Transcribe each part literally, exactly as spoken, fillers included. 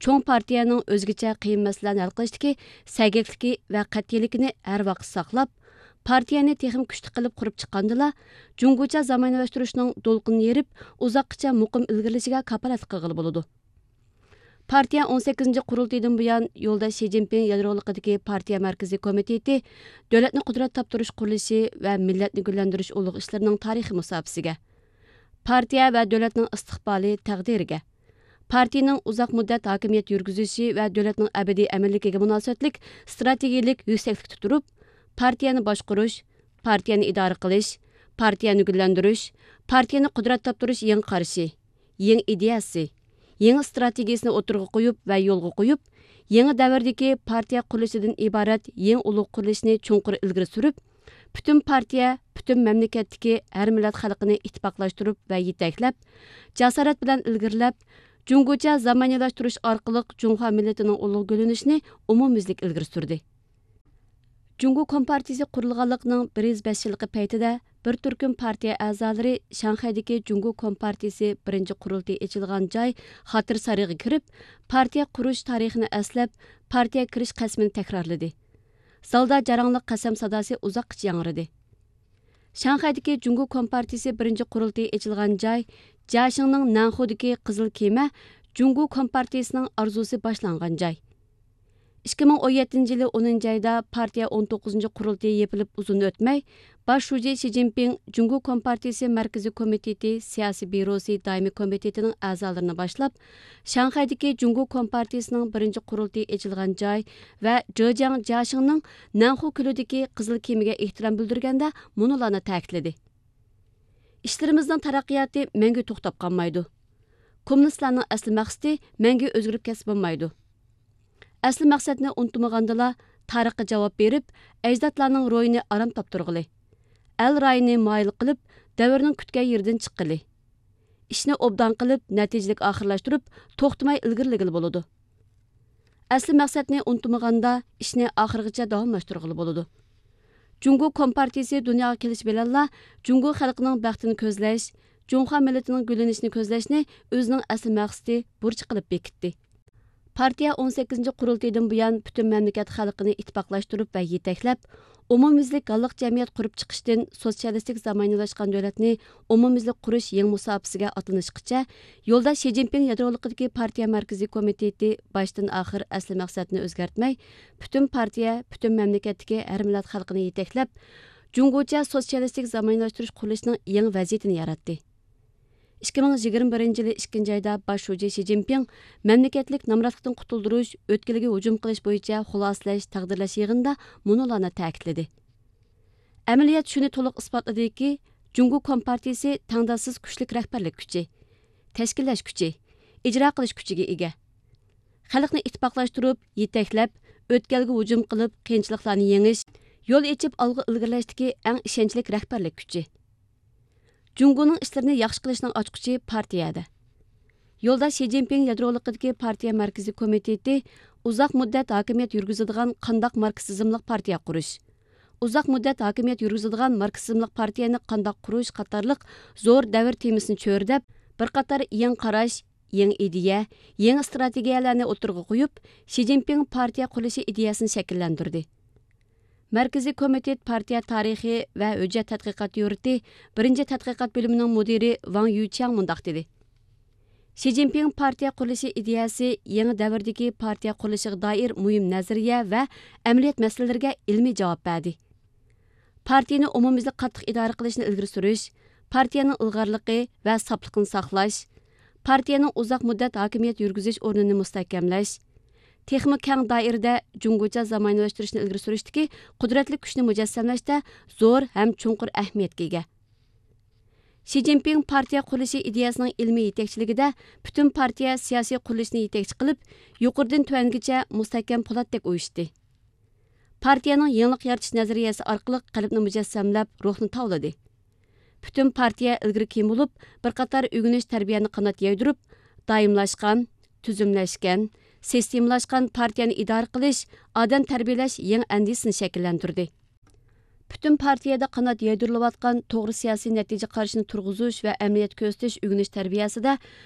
چوڭ پارتىيەنىڭ ئۆزگىچە قىيىن مەسىلىلەرنى ھەل قىلىشتىكى سەگەكلىكى ۋە قەتئىيلىكىنى ھەر ۋاقىت ساقلاپ، پارتىيەنى تېخىمۇ كۈچلۈك قىلىپ قۇرۇپ چىققاندىلا، جۇڭگوچە زامانىۋىلاشتۇرۇشنىڭ دولقۇنىنى يېرىپ، ئۇزاققىچە مۇقىم ئىلگىرىلىشىگە كاپالەتلىك قىلغىلى بولىدۇ. پارتىيە ئون سەككىزىنچى قۇرۇلتىيىدىن بۇيان يولداش شى جىنپىڭ يادرولۇقىدىكى پارتىيە مەركىزىي كومىتېتى دۆلەتنى قۇدرەت تاپتۇرۇش قۇرۇلۇشى ۋە مىللەتنى گۈللەندۈرۈش ئۇلۇغ ئىشلىرىنىڭ تارىخىي مۇساپىسىگە، پارتىيە ۋە دۆلەتنىڭ ئىستىقبالى تەقدىرىگە، پارتىيىنىڭ ئۇزاق مۇددەت ھاكىمىيەت يۈرگۈزۈشى ۋە دۆلەتنىڭ ئەبەدىي ئەمىنلىكىگە مۇناسىۋەتلىك ئىستراتېگىيىلىك يۈكسەكلىكتە تۇرۇپ، پارتىيەنى باشقۇرۇش، پارتىيەنى ئىدارە قىلىش، پارتىيەنى گۈللەندۈرۈش، پارتىيەنى قۇدرەت تاپتۇرۇش يېڭى قارىشى، يېڭى ئىدىيەسى، يېڭى ئىستراتېگىيىسىنى ئوتتۇرىغا قويۇپ ۋە يولغا قويۇپ، يېڭى دەۋردىكى پارتىيە قۇرۇلۇشىدىن ئىبارەت يېڭى ئۇلۇغ قۇرۇلۇشىنى چوڭقۇر ئىلگىرى سۈرۈپ، پۈتۈن پارتىيە، پۈتۈن مەملىكەتتىكى ھەر مىللەت خەلقىنى ئىتتىپاقلاشتۇرۇپ ۋە يېتەكلەپ، جاسارەت بىلەن ئىلگىرىلەپ، جۇڭگوچە زامانىۋىلاشتۇرۇش ئارقىلىق جۇڭخۇا مىللىتىنىڭ ئۇلۇغ گۈللىنىشىنى ئومۇميۈزلۈك ئىلگىرى سۈردى. جۇڭگو كومپارتىيىسى قۇرۇلغانلىقىنىڭ بىر يۈز بەش يىللىقى پەيتىدە بىر تۈركۈم پارتىيە ئەزالىرى شاڭخەيدىكى جۇڭگو كومپارتىيىسى بىرىنچى قۇرۇلتىيى ئېچىلغان جاي خاتىرە سارىيىغا كىرىپ، پارتىيە قۇرۇش تارىخىنى ئەسلەپ، پارتىيە كىرىش قەسىمىنى تەكرارلىدى. زالدا جاراڭلىق قەسەم ساداسى ئۇزاققىچە ياڭرىدى. شاڭخەيدىكى جۇڭگو كومپارتىيىسى بىرىنچى قۇرۇلتىيى ئېچىلغان جاي، جياشىڭنىڭ نەنخۇدىكى قىزىل كېمە جۇڭگو كومپارتىيىسىنىڭ ئارزۇسى باشلانغان جاي. ئىككى مىڭ ئون يەتتىنچى يىلى ئونىنچى ئايدا پارتىيە ئون توققۇزىنچى قۇرۇلتىيى يېپىلىپ ئۇزۇن ئۆتمەي، باش شۇجى شى جىنپىڭ جۇڭگو كومپارتىيىسى مەركىزىي كومىتېتى سىياسىي بيۇروسى دائىمىي كومىتېتىنىڭ ئەزالىرىنى باشلاپ، شاڭخەيدىكى جۇڭگو كومپارتىيىسىنىڭ بىرىنچى قۇرۇلتىيى ئېچىلغان جاي ۋە جېجياڭ جياشىڭنىڭ نەنخۇ كۆلىدىكى قىزىل كېمىگە ئېھتىرام بىلدۈرگەندە مۇنۇلارنى تەكىتلىدى: ئىشلىرىمىزنىڭ تەرەققىياتى مەڭگۈ توختاپ قالمايدۇ. كوممۇنىستلارنىڭ ئەسلى مەقسىتى مەڭگۈ ئۆزگىرىپ كەتسە بولمايدۇ. ئەسلى مەقسەتنى ئۇنتۇمىغاندىلا، تارىخقا جاۋاب بېرىپ، ئەجدادلارنىڭ روھىنى ئارام تاپتۇرغىلى. ئەل رايىنى مايىل قىلىپ، دەۋرنىڭ كۈتكەن يېرىدىن چىققىلى. ئىشنى ئوبدان قىلىپ، نەتىجىلىك ئاخىرلاشتۇرۇپ، توختىماي ئىلگىرىلىگىلى بولىدۇ. ئەسلى مەقسەتنى ئۇنتۇمىغاندا، ئىشنى ئاخىرغىچە داۋاملاشتۇرغىلى بولىدۇ. جۇڭگو كومپارتىيىسى دۇنياغا كېلىش بىلەنلا، جۇڭگو خەلقىنىڭ بەختىنى كۆزلەش، جۇڭخۇا مىللىتىنىڭ گۈللىنىشىنى كۆزلەشنى ئۆزىنىڭ ئەسلى مەقسىتى، بۇرچى قىلىپ بېكىتتى. پارتىيە ئون سەككىزىنچى قۇرۇلتىيىدىن بۇيان پۈتۈن مەملىكەت خەلقىنى ئىتتىپاقلاشتۇرۇپ ۋە يېتەكلەپ، ئومۇميۈزلۈك ھاللىق جەمئىيەت قۇرۇپ چىقىشتىن سوتسىيالىستىك زامانىۋىلاشقان دۆلەتنى ئومۇميۈزلۈك قۇرۇش يېڭى مۇساپىسىگە ئاتلىنىشقىچە، يولداش شى جىنپىڭ يادرولۇقىدىكى پارتىيە مەركىزىي كومىتېتى باشتىن ئاخىر ئەسلى مەقسەتنى ئۆزگەرتمەي، پۈتۈن پارتىيە، پۈتۈن مەملىكەتتىكى ھەر مىللەت خەلقىنى يېتەكلەپ، جۇڭگوچە سوتسىيالىستىك زامانىۋىلاشتۇرۇش قۇرۇلۇشىنىڭ يېڭى ۋەزىيىتىنى ياراتتى. ئىككى مىڭ يىگىرمە بىرىنچى يىلى ئىككىنچى ئايدا باش شۇجى شى جىنپىڭ مەملىكەتلىك نامراتلىقتىن قۇتۇلدۇرۇش، ئۆتكىلىگە ھۇجۇم قىلىش بويىچە خۇلاسىلەش، تەقدىرلەش يىغىنىدا مۇنۇلارنى تەكىتلىدى: ئەمەلىيەت شۇنى تولۇق ئىسپاتلىدىكى، جۇڭگو كومپارتىيىسى تەڭداشسىز كۈچلۈك رەھبەرلىك كۈچى، تەشكىللەش كۈچى، ئىجرا قىلىش كۈچىگە ئىگە. خەلقنى ئىتتىپاقلاشتۇرۇپ، يېتەكلەپ، ئۆتكەلگە ھۇجۇم قىلىپ، قىيىنچىلىقلارنى يېڭىش، يول ئېچىپ ئالغا ئىلگىرىلەشتىكى ئەڭ ئىشەنچلىك رەھبەرلىك كۈچى. جۇڭگونىڭ ئىشلىرىنى ياخشى قىلىشنىڭ ئاچقۇچى پارتىيەدە. يولداش شى جىنپىڭ يادرولۇقىدىكى پارتىيە مەركىزىي كومىتېتى ئۇزاق مۇددەت ھاكىمىيەت يۈرگۈزىدىغان قانداق ماركسىزملىق پارتىيە قۇرۇش، ئۇزاق مۇددەت ھاكىمىيەت يۈرگۈزىدىغان ماركسىزملىق پارتىيەنى قانداق قۇرۇش قاتارلىق زور دەۋر تېمىسىنى چۆرىدەپ، بىر قاتار يېڭى قاراش، يېڭى ئىدىيە، يېڭى ئىستراتېگىيەلەرنى ئوتتۇرىغا قويۇپ، شى جىنپىڭ پارتىيە قۇرۇلۇشى ئىدىيەسىنى شەكىللەندۈردى. مەركىزىي كومىتېت پارتىيە تارىخى ۋە ھۆججەت تەتقىقات يۇرتى بىرىنچى تەتقىقات بۆلۈمىنىڭ مۇدىرى ۋاڭ يۈچياڭ مۇنداق دېدى: شى جىنپىڭ پارتىيە قۇرۇلۇشى ئىدىيەسى يېڭى دەۋردىكى پارتىيە قۇرۇلۇشىغا دائىر مۇھىم نەزەرىيە ۋە ئەمەلىيەت مەسىلىلىرىگە ئىلمىي جاۋاب بەردى. پارتىيىنى ئومۇميۈزلۈك قاتتىق ئىدارە قىلىشنى ئىلگىرى سۈرۈش، پارتىيەنىڭ ئىلغارلىقى ۋە ساپلىقىنى ساقلاش، پارتىيەنىڭ ئۇزاق مۇددەت ھاكىمىيەت يۈرگۈزۈش ئورنىنى مۇستەھكەملەش، تېخىمۇ كەڭ دائىرىدە جۇڭگوچە زامانىۋىلاشتۇرۇشنى ئىلگىرى سۈرۈشتىكى قۇدرەتلىك كۈچنى مۇجەسسەملەشتە زور ھەم چوڭقۇر ئەھمىيەتكە ئىگە. شى جىنپىڭ پارتىيە قۇرۇلۇشى ئىدىيەسىنىڭ ئىلمىي يېتەكچىلىكىدە پۈتۈن پارتىيە سىياسىي قۇرۇلۇشىنى يېتەكچى قىلىپ، يۇقىرىدىن تۆۋەنگىچە مۇستەھكەم پولاتتەك ئۇيۇشتى. پارتىيەنىڭ يېڭىلىق يارىتىش نەزەرىيەسى ئارقىلىق قەلبنى مۇجەسسەملەپ، روھنى تاۋلىدى. پۈتۈن پارتىيە ئىلگىرى كېيىن بولۇپ، بىر قاتار ئۆگىنىش تەربىيەنى قانات يايدۇرۇپ، دائىملاشقان، تۈزۈملەشكەن، سىستېمىلاشقان پارتىيەنى ئىدارە قىلىش، ئادەم تەربىيەلەش يېڭى ئەندىزىسىنى شەكىللەندۈردى. پۈتۈن پارتىيەدە قانات يايدۇرۇلۇۋاتقان توغرا سىياسىي نەتىجە قارىشىنى تۇرغۇزۇش ۋە ئەمەلىيەتكە كۆرسىتىش ئۆگىنىش تەربىيەسىدە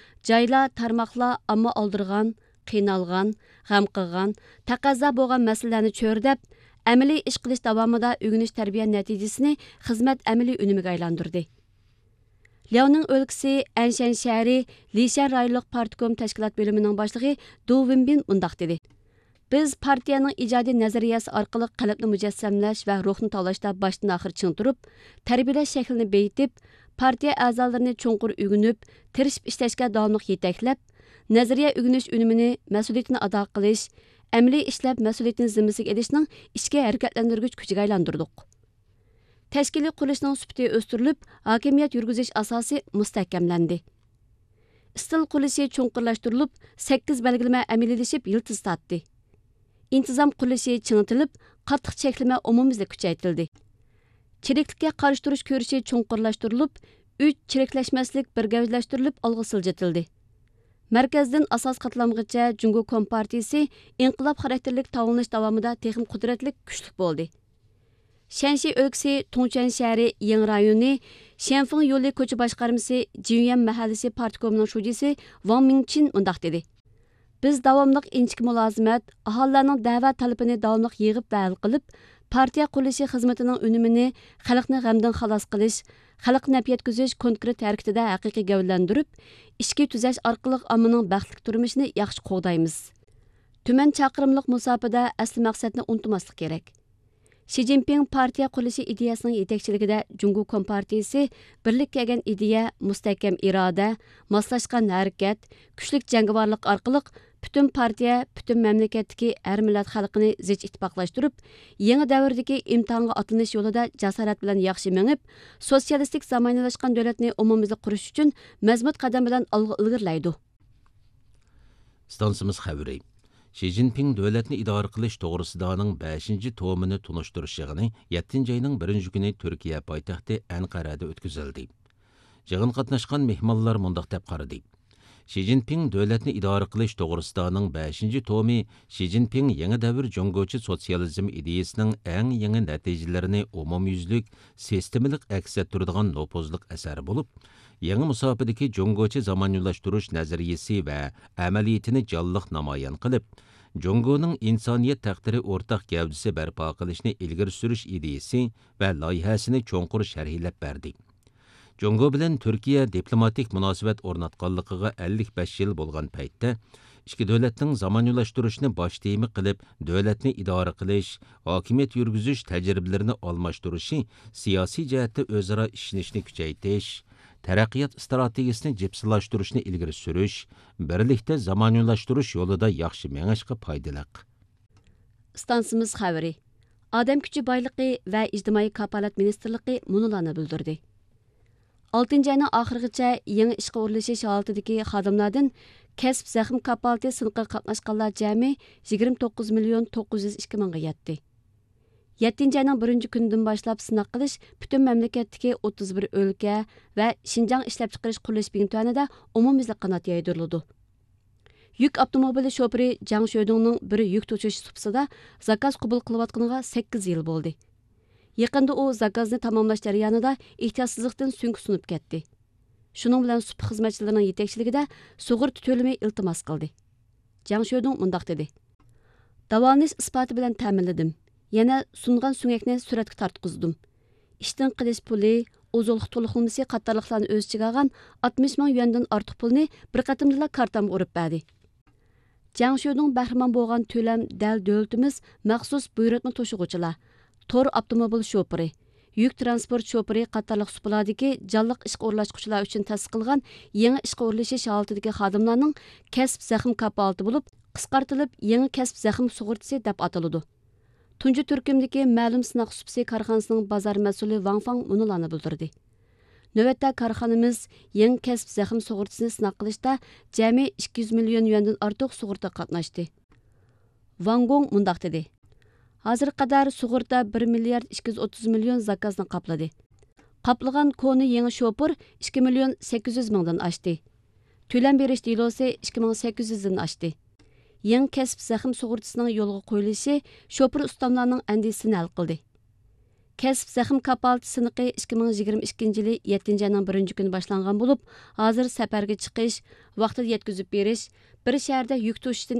جايلار، تارماقلار ئامما ئالدۇرغان، قىينالغان، غەم قىلغان، تەقەززا بولغان مەسىلىلەرنى چۆرىدەپ، ئەمەلىي ئىش قىلىش داۋامىدا ئۆگىنىش تەربىيە نەتىجىسىنى خىزمەت ئەمەلىي ئۈنۈمىگە ئايلاندۇردى. لياۋنىڭ ئۆلكىسى ئەنشەن شەھىرى لىشەن رايونلۇق پارتكوم تەشكىلات بۆلۈمىنىڭ باشلىقى دۇ ۋېنبىن مۇنداق دېدى: بىز پارتىيەنىڭ ئىجادىي نەزەرىيەسى ئارقىلىق قەلبنى مۇجەسسەملەش ۋە روھنى تاۋلاشتا باشتىن ئاخىر چىڭ تۇرۇپ، تەربىيىلەش شەكلىنى بېيىتىپ، پارتىيە ئەزالىرىنى چوڭقۇر ئۆگىنىپ، تىرىشىپ ئىشلەشكە داۋاملىق يېتەكلەپ، نەزەرىيە ئۆگىنىش ئۈنۈمىنى مەسئۇلىيىتىنى ئادا قىلىش، ئەمەلىي ئىشلەپ مەسئۇلىيىتىنى زىممىسىگە ئېلىشنىڭ ئىچكى ھەرىكەتلەندۈرگۈچ كۈچىگە ئايلاندۇردۇق. تەشكىلىي قۇرۇلۇشنىڭ سۈپىتى ئۆستۈرۈلۈپ، ھاكىمىيەت يۈرگۈزۈش ئاساسى مۇستەھكەملەندى. ئىستىل قۇرۇلۇشى چوڭقۇرلاشتۇرۇلۇپ، سەككىز بەلگىلىمە ئەمەلىيلىشىپ يىلتىز تارتتى. ئىنتىزام قۇرۇلۇشى چىڭىتىلىپ، قاتتىق چەكلىمە ئومۇميۈزلۈك كۈچەيتىلدى. چىرىكلىككە قارشى تۇرۇش كۈرىشى چوڭقۇرلاشتۇرۇلۇپ، ئۈچ چىرىكلەشمەسلىك بىر گەۋدىلەشتۈرۈلۈپ ئالغا سىلجىتىلدى. مەركەزدىن ئاساسىي قاتلامغىچە جۇڭگو كومپارتىيىسى ئىنقىلاب خاراكتېرلىك تاۋلىنىش داۋامىدا تېخىمۇ قۇدرەتلىك، كۈچلۈك بولدى. شەنشى ئۆلكىسى تۇڭچۈەن شەھىرى يېڭى رايونى شيەنفېڭ يولى كوچا باشقارمىسى جىنيۈەن مەھەللىسى پارتكومىنىڭ شۇجىسى ۋاڭ مىڭچىن مۇنداق دېدى: بىز داۋاملىق ئىنچىكە مۇلازىمەت، ئاھالىلەرنىڭ دەۋە تەلىپىنى داۋاملىق يىغىپ ۋە ھەل قىلىپ، پارتىيە قۇرۇلۇشى خىزمىتىنىڭ ئۈنۈمىنى خەلقنى غەمدىن خالاس قىلىش، خەلققە نەپ يەتكۈزۈش كونكرېت ھەرىكىتىدە ھەقىقىي گەۋدىلەندۈرۈپ، ئىچكى تۈزەش ئارقىلىق ئاممىنىڭ بەختلىك تۇرمۇشىنى ياخشى قوغدايمىز. تۈمەن چاقىرىملىق مۇساپىدە ئەسلى مەقسەتنى ئۇنتۇماسلىق كېرەك. شى جىنپىڭ پارتىيە قۇرۇلۇشى ئىدىيەسىنىڭ يېتەكچىلىكىدە جۇڭگو كومپارتىيىسى بىرلىككە كەلگەن ئىدىيە، مۇستەھكەم ئىرادە، ماسلاشقان ھەرىكەت، كۈچلۈك جەڭگىۋارلىق ئارقىلىق پۈتۈن پارتىيە، پۈتۈن مەملىكەتتىكى ھەر مىللەت خەلقىنى زىچ ئىتتىپاقلاشتۇرۇپ، يېڭى دەۋردىكى ئىمتىھانغا ئاتلىنىش يولىدا جاسارەت بىلەن ياخشى مېڭىپ، سوتسىيالىستىك زامانىۋىلاشقان دۆلەتنى ئومۇميۈزلۈك قۇرۇش ئۈچۈن مەزمۇت قەدەم بىلەن ئالغا ئىلگىرىلەيدۇ. ئىستانسىمىز خەۋىرى. شى جىنپىڭ دۆلەتنى ئىدارە قىلىش توغرىسىدانىڭ بەشىنچى تومىنى تونۇشتۇرۇش يىغىنى يەتتىنچى ئاينىڭ بىرىنچى كۈنى تۈركىيە پايتەختى ئەنقەرەدە ئۆتكۈزۈلدى. يىغىنغا قاتناشقان مېھمانلار مۇنداق دەپ قارىدى: شى جىنپىڭ دۆلەتنى ئىدارە قىلىش توغرىسىدانىڭ بەشىنچى تومى شى جىنپىڭ يېڭى دەۋر جۇڭگوچە سوتسىيالىزم ئىدىيىسىنىڭ ئەڭ يېڭى نەتىجىلىرىنى ئومۇميۈزلۈك، سىستېمىلىق ئەكس ئەتتۈرىدىغان نوپۇزلۇق ئەسەر بولۇپ، يېڭى مۇساپىدىكى جۇڭگوچە زامانىۋىلاشتۇرۇش نەزەرىيىسى ۋە ئەمەلىيىتىنى جانلىق نامايان قىلىپ، جۇڭگونىڭ ئىنسانىيەت تەقدىرى ئورتاق گەۋدىسى بەرپا قىلىشنى ئىلگىرى سۈرۈش ئىدىيىسى ۋە لايىھەسىنى چوڭقۇر شەرھلەپ بەردى. جۇڭگو بىلەن تۈركىيە دىپلوماتىك مۇناسىۋەت ئورناتقانلىقىغا ئەللىك بەش يىل بولغان پەيتتە، ئىككى دۆلەتنىڭ زامانىۋىلاشتۇرۇشنى باش تېما قىلىپ، دۆلەتنى ئىدارە قىلىش، ھاكىمىيەت يۈرگۈزۈش تەجرىبىلىرىنى ئالماشتۇرۇشى، سىياسىي جەھەتتە ئۆزئارا ئىشىنىشنى كۈچەيتىش، تەرەققىيات ئىستراتېگىيىسىنى جىپسىلاشتۇرۇشنى ئىلگىرى سۈرۈش، بىرلىكتە زامانىۋىلاشتۇرۇش يولىدا ياخشى مېڭىشقا پايدىلىق. ئىستانسىمىز خەۋىرى. ئادەم كۈچى بايلىقى ۋە ئىجتىمائىي كاپالەت مىنىستىرلىقى مۇنۇلارنى بىلدۈردى. ئالتىنچى ئاينىڭ ئاخىرىغىچە يېڭى ئىشقا ئورۇنلىشىش ھالىتىدىكى خادىملاردىن كەسىپ زەخىم كاپالىتى سىنىقىغا قاتناشقانلار جەمئىي يىگىرمە توققۇز مىليون توققۇز يۈز ئىككى مىڭغا يەتتى. يەتتىنچى ئاينىڭ بىرىنچى كۈنىدىن باشلاپ سىناق قىلىش پۈتۈن مەملىكەتتىكى ئوتتۇز بىر ئۆلكە ۋە شىنجاڭ ئىشلەپچىقىرىش قۇرۇلۇش بىڭتۈەنىدە ئومۇميۈزلۈك قانات يايدۇرۇلىدۇ. يۈك ئاپتوموبىلى شوپۇرى جاڭ شۆدۇڭنىڭ بىر يۈك توشۇش سۇپىسىدا زاكاز قوبۇل قىلىۋاتقىنىغا سەككىز يىل بولدى. يېقىندا ئۇ زاكازنى تاماملاش جەريانىدا ئېھتىياتسىزلىقتىن سۆڭىكى سۇنۇپ كەتتى. شۇنىڭ بىلەن سۇپا خىزمەتچىلىرىنىڭ يېتەكچىلىكىدە سۇغۇرتا تۆلىمى ئىلتىماس قىلدى. جاڭ شۆدۇڭ مۇنداق دېدى: داۋالىنىش ئىسپاتى بىلەن تەمىنلىدىم. يەنە سۇنغان سۆڭەكنى سۈرەتكە تارتقۇزدۇم. ئىشتىن قېلىش پۇلى، ئوزۇقلۇق تولۇقلىمىسى قاتارلىقلارنى ئۆز ئىچىگە ئالغان ئاتمىش مىڭ يۈەندىن ئارتۇق پۇلنى بىر قېتىمدىلا كارتامغا ئۇرۇپ بەردى. جاڭ شۆدۇڭ بەھرىمەن بولغان تۆلەم دەل دۆلىتىمىز مەخسۇس بۇيرۇتما توشۇغۇچىلار، تور ئاپتوموبىل شوپۇرى، يۈك تىرانسپورت شوپۇرى قاتارلىق سۇپىلاردىكى جانلىق ئىشقا ئورۇنلاشقۇچىلار ئۈچۈن تەسىس قىلغان يېڭى ئىشقا ئورۇنلىشىش ھالىتىدىكى خادىملارنىڭ كەسىپ زەخىم كاپالىتى بولۇپ، قىسقارتىلىپ يېڭى كەسىپ زەخىم سۇغۇرتىسى دەپ ئاتىلىدۇ. تۇنجى تۈركۈمدىكى مەلۇم سىناق سۇپىسى كارخانىسىنىڭ بازار مەسئۇلى ۋاڭ فاڭ مۇنۇلارنى بىلدۈردى: نۆۋەتتە كارخانىمىز يېڭى كەسىپ زەخىم سۇغۇرتىسىنى سىناق قىلىشتا جەمئىي ئىككى يۈز مىليون يۈەندىن ئارتۇق سۇغۇرتا قاتناشتى. ۋاڭ گوڭ مۇنداق دېدى: ھازىرغا قەدەر سۇغۇرتا بىر مىليارد ئىككى يۈز ئوتتۇز مىليون زاكازنى قاپلىدى. قاپلىغان كونا يېڭى شوپۇر ئىككى مىليون سەككىز يۈز مىڭدىن ئاشتى. تۆلەم بېرىش دېلوسى ئىككى مىڭ سەككىز يۈزدىن ئاشتى. يېڭى كەسىپ زەخىم سۇغۇرتىسىنىڭ يولغا قويۇلۇشى شوپۇر ئۇستاملارنىڭ ئەندىشىسىنى ھەل قىلدى. كەسىپ زەخىم كاپالىتى سىنىقى ئىككى مىڭ يىگىرمە ئىككىنچى يىلى يەتتىنچى ئاينىڭ بىرىنچى كۈنى باشلانغان بولۇپ، ھازىر سەپەرگە چىقىش، ۋاقتىدا يەتكۈزۈپ بېرىش، بىر شەھەردە يۈك توشۇشتىن